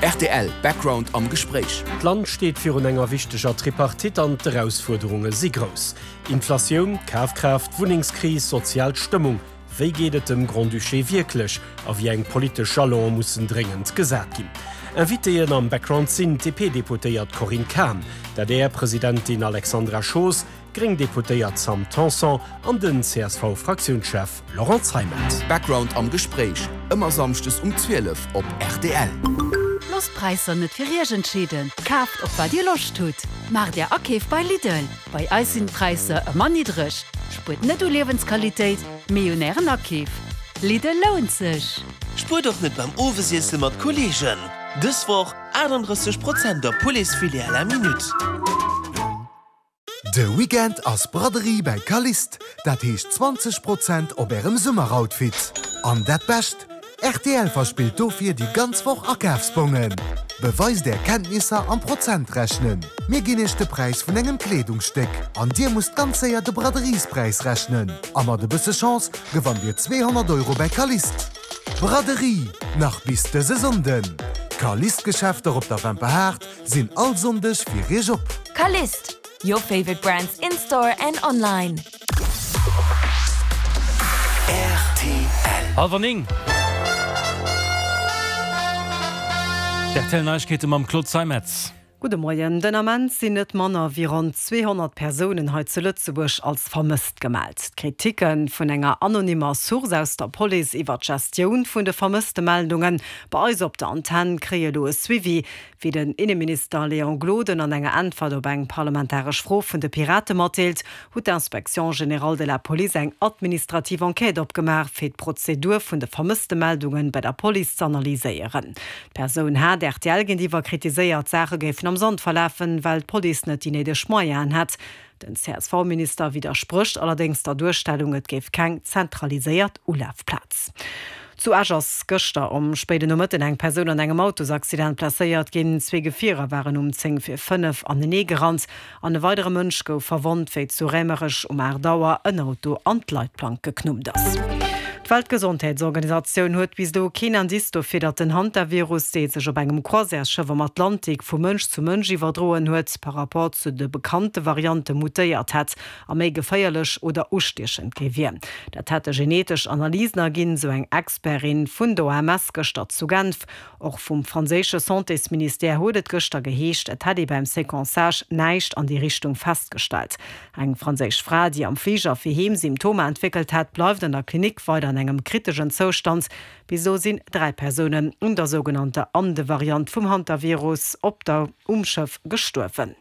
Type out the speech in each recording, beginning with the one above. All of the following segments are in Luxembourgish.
Rtl Background am Gespréich. D'Land steet virun enger wichteger Tripartite an d'Erausfuerderunge si grouss. Inflatioun, Kafkraaft, Wunnengskris, sozial Stëmmung. Wéi geet et dem Grand-Duché wierklech a wéi eng politesch Jalone mussen dréngend gesat ginn? Invitéen am Background sinn d'DP-Deputéiert Corinne Cahen, d'ADR-Presidentin Alexandra Schoos, d'gréng Deputéiert Sam Tanson an den CSV-Fraktiounschef Laurent Zeimet. Background am Gespréich, ëmmer samschdes um 12 op rtl. Loosst d'Präisser net fir Iech entscheeden, kaaft op wat Dir Loscht hutt. Maacht Är Akeef bei Lidl, bei eis sinn d'Präisser ëmmer niddreg. Spuert net u Liewensqualitéit, mee un Ären Akeef. Lidl lount sech! Spuert och net beim Owesiesse mat Kolleegen! Dës Woch 38 Prozent op Pouletsfilet à la minute. De Weekend ass Braderie bäi Calliste, dat heescht 20 Prozent op ärem Summeroutfit. An dat Bescht, Rtl verspillt dofir déi ganz Woch Akafsbongen. Beweist är Kenntnisser am Prozentrechnen. Mir ginn iech de Präis vun engem Kleedungsstéck an dir musst ganz séier de Braderiespräis rechnen. A mat e bësse Chance gewannt dir 200 Euro bäi Calliste. Braderie nach bis dëse Sonnden! D'Calliste-Geschäfter op der Wemperhaart sinn all Sonndeg fir iech op. Calliste, your favorite brands in store and online. Rtl. Hallwer 9. D'RTL Neiegkeete mam Claude Zeimetz. Gudde Moien. Den Ament sinn net manner wéi ronn 200 Persounen hei zu Lëtzebuerg als vermësst gemellt. D'Kriticke vun enger anonymmer Source aus der Police iwwer d'Gestioun vun de Vermësstemeldunge bei eis op der Antenn kréie elo e Suivi. Wéi den Inneminister Léon Gloden an enger Äntwert op eng parlamentaresch Fro vun de Pirate matdeelt, huet d'Inspection générale de la police eng administrativ Enquête opgemaach, fir d'Prozedur vun de Vermësstemeldunge bei der Police z'analyséieren. D'Persoun hat rtl géintiwwer kritiséiert, d'Saache géifen am Sand verlafen, well d'Police net déi néideg Moyenen hätt. Den CSV-Minister widdersprécht allerdéngs der Duerstellung, et géif keng zentraliséiert Ulafplaz. Zu Esch ass gëschter um spéiden Nomëtten eng Persoun an engem Autosaccident blesséiert ginn. Zwee Gefierer waren um 10 vir 5 anenee gerannt an e weidere Mënsch gouf verwonnt, wéi zu Raemerech um 8 Auer en Auto an d'Leitplank geknuppt ass. D'Weltgesondheetsorganisatioun huet bis elo keen Indice dofir, datt den Hantavirus, dee sech op engem Croisièresschëff am Atlantik vu Mënsch zu Mënsch iwwerdroen huet, par rapport zu de bekannte Variante mutéiert hätt a méi geféierlech oder ustiechend gi wier. Dat hätte genetesch Analysen erginn, sou eng Expertin vun der OMS gëschter zu Genf. Och vum franséische Santésministère huet et gëschter geheescht, et hätt ee beim Séquençage näischt an déi Richtung festgestallt. Eng franséisch Fra, déi am Fliger fir heem Symptomer entwéckelt hat, bleift an der Klinik weider an engem kriteschen Zoustand. Bis elo sinn 3 Persounen un der sougenannter Ande-Variant vum Hantavirus op der um Schëff gestuerwen.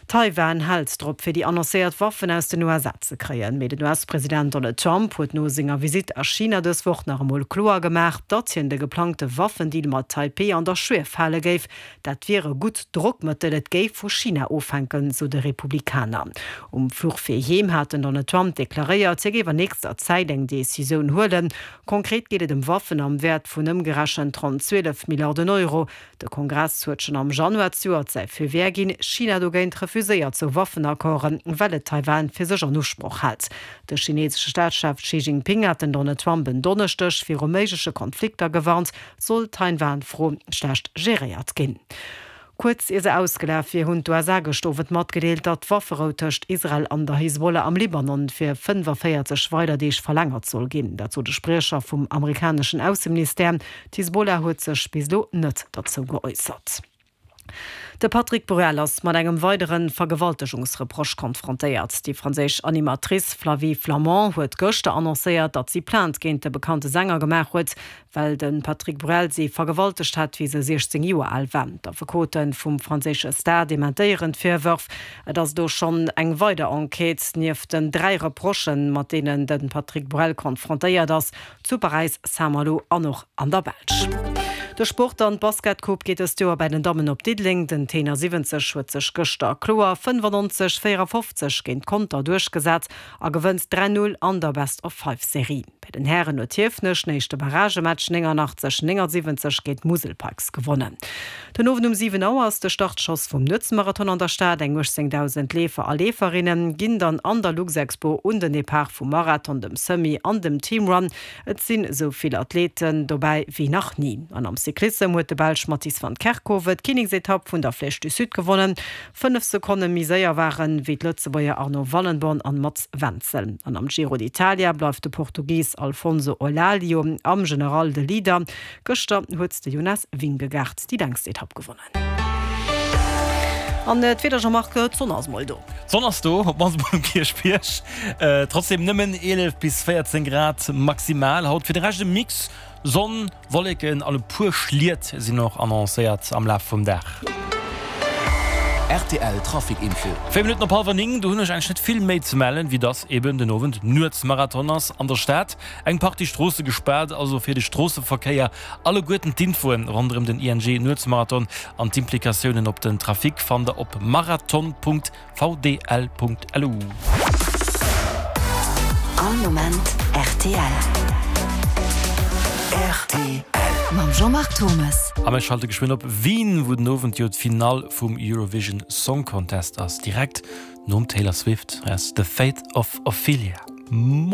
Taiwan hält drop, fir déi annoncéiert Waffen aus den USA ze kréien. Mee den US-President Donald Trump huet no senger Visitt a China dës Woch nach emol kloer gemaach, datt hien de geplangte Waffendeal mat Taipeh an der Schwief hale géif. Dat wier e gutt Drockmëttel, et géif vu China ofhänken, sou de Republikaner. Um Fluch fir heem hat den Donald Trump deklaréiert, hie géif an nächster Zäit eng Decisioun huelen. Konkret geet et ëm Waffen am Wäert vun ëmgerechent ronn 12 Milliarden Euro. De Kongress huet schonn am Januar zejoert säi Feu vert ginn. China dogéint refuséiert sou Waffenaccorden, well et Taiwan fir sech an Usproch hält. De chinesesche Staatschef Xi Jinping hat den Donald Trump en Donneschdeg viru méigleche Konflikter gewarnt, Soll d'Taiwan-Fro schlecht geréiert ginn? Kuerz ier se ausgelaf wier, hunn d'USA gëscht Owend matgedeelt, datt d'Wafferou tëscht Israel an der Hisbollah am Libanon fir 45 weider Deeg verlängert soll ginn. Dat sot e Spriecher vum amerikaneschen Ausseministère. D'Hisbollah huet sech bis elo net derzou geäussert. De Patrick Bruel ass mat engem weidere Vergewaltegungsreproche konfrontéiert. Déi franséisch Animatrice Flavie Flament huet gëschter annoncéiert, datt si Plainte géint de bekannte Sänger gemaach huet, well de Patrick Bruel si vergewaltegt hätt, wéi se 16 Joer al war. D'Affekote vum franséische Star dementéieren d'Virwërf. Et ass elo schonn eng weider Enquête, nieft den 3 Reprochen, mat deenen de Patrick Bruel konfrontéiert ass, zu Paräis, Saint-Malo an och an der Belsch. De Sport an, D'Basketcoupe geet dëst Joer bei den Dammen op Diddeleng. Den. T71 huet sech gëschter kloer 95, 54 géint Conter duerchgesat a gewënnt 3, 0 an der Best-of-Five-Serie. Bei den Hären huet Hiefenech den éischte Barragematch 89, 79 géint d'Musel Pikes gewonnen. Den Owend um 7 Auer ass de Startschoss vum Nuetsmarathon an der Stad. Eng 18.000 Leefer a Leeferinne ginn dann an der Luxexpo un den Depart vum Marathon, dem Semi an dem Teamrun. Et sinn esou vill Athleten dobäi wéi nach ni. An am Cyclissem huet de Belsch Mathies van Kerkhove d'Kinneksetapp vun der Flèche du Sud gewonnen. 5 Sekonne méi séier waren wéi d'Lëtzebuerger Arno Wallenborn an Mats Wenzel. An am Giro d'Italia bleift de Portugis Alfonso Eulalio am General de Leader. Gëschter huet de Jonas Vingegaard déi längst Etapp gewonnen. An d'Wieder, Jean-Marc, d'Sonn ass mol do. D'Sonn ass do, op d'mannst mol um Kierchbierg. Trotzdem nëmmen 11 bis 14 Grad maximal haut. Fir de Rescht e Mix, Sonn, Wolleken an e puer Schliet sinn och annoncéiert am Laf vum Dag. Rtl Trafic Info. 4 Minutten op hallwer 9, do hunn ech eigentlech net vill méi ze mellen, wéi dass eben den Owend Nuetsmarathon ass an der Stad. Eng Partie Stroosse gespaart, also fir de Stroosseverkéier. Alleguerten d'Infoen ronderëm den ING Nuetsmarathon an d'Implikatiounen op den Trafic fannt der op marathon.vdl.lu. All Moment rtl. Rtl. Mam Jean-Marc Thommes. A mir schalte geschwënn op Wien, wou den Owend jo d'Finall vum Eurovision Song Contest ass. Direkt nom Taylor Swift. Hei ass The Fate of Ophelia. Moien!